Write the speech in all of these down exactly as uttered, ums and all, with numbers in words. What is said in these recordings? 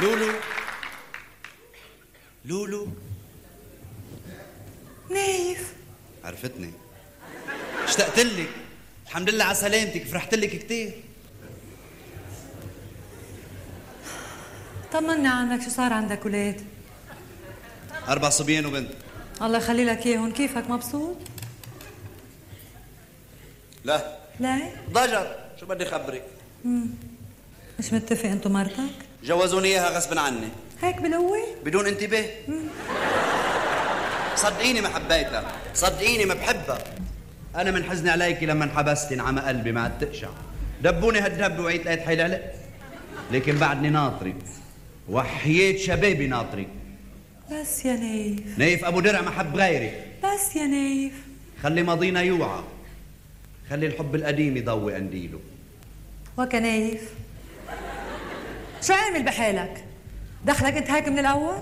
لولو لولو نايف، عرفتني، اشتقت لك. الحمد لله على سلامتك، فرحت لك كتير. طمني عنك، شو صار عندك ولاد؟ أربع صبيان وبنت. الله يخلي لك اياهم، كيفك مبسوط؟ لا لا؟ ضجر، شو بدي خبرك؟ امم مش متفق انت ومرتك؟ جوزوني اياها غصب عني. هيك بالقوة؟ بدون انتباه. صدقيني ما حبيتها، صدقيني ما بحبها. أنا من حزني عليكي لما انحبستي انعمى قلبي ما عاد تقشع. دبوني هالدب وعيت لقيت حيل علق، لكن بعدني ناطرك، وحياة شبابي ناطرك. بس يا نايف، نايف أبو درع ما حب غيرك. بس يا نايف، خلي ماضينا يوعى، خلي الحب القديم يضوي قنديله. وكا نايف، شو عامل بحالك؟ دخلك انت هيك من الأول؟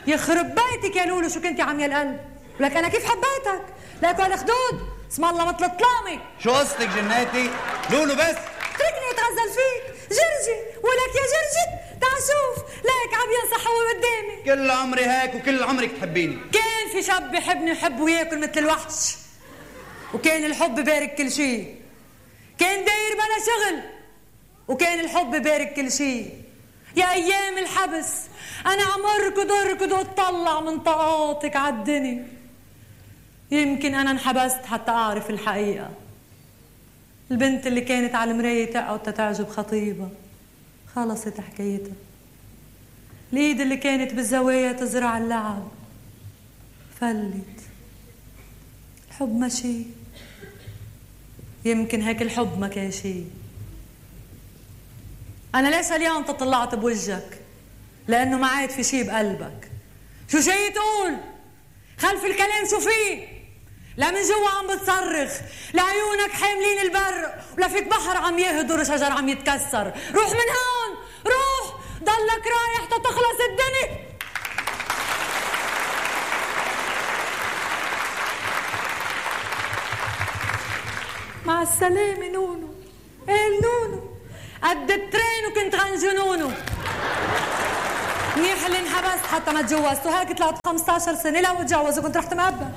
يخرب بيتك يا لولو، شو كنتي عميا القلب؟ ولك أنا كيف حبيتك؟ لك هالخدود اسم الله مثل الطلامة. شو قصتك جناتي؟ لولو بس اتركني اتغزل فيك جرجي، ولك يا جرجي تعال شوف، لك عم ينصح هو قدامي. كل عمري هيك وكل عمرك تحبيني. كان في شاب بحبني ويحب وياكل مثل الوحش، وكان الحب بارك كل شيء. كان داير بلا شغل، وكان الحب بارك كل شيء. يا ايام الحبس انا عم اركض اركض واطلع من طاقاتك عالدنيا. يمكن انا انحبست حتى اعرف الحقيقه. البنت اللي كانت على المرايه تقعد تتعجب خطيبها خلصت حكايتها. الايد اللي كانت بالزوايا تزرع اللعب فلت. الحب ماشي، يمكن هيك الحب ما كان شيء. أنا ليش اليوم تطلعت بوجهك؟ لأنه ما عاد في شي بقلبك. شو جاي تقول؟ خلف الكلام شو فيه؟ لا من جوا عم بتصرخ، لا عيونك حاملين البر، ولا فيك بحر عم يهدر وشجر عم يتكسر. روح من هون، روح، ضلك رايح تتخلص الدنيا. مع السلامة نونو. ايه نونو قد الترين وكنت غنجنونو. منيح اللي انحبست حتى ما تجوزت، وهيك طلعت خمسة عشر سنة لو اتجوز وكنت رحت مقبل.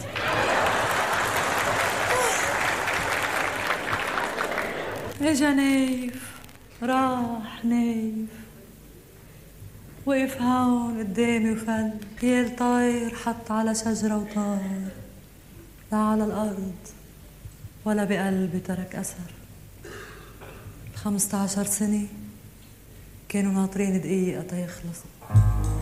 اجا نايف، راح نايف، وقف هون قدامي وفل. يا طاير حط على شجرة وطار، لا على الأرض ولا بقلبي ترك أثر. خمسة عشر سنة كانوا ناطرين دقيقة تيخلص.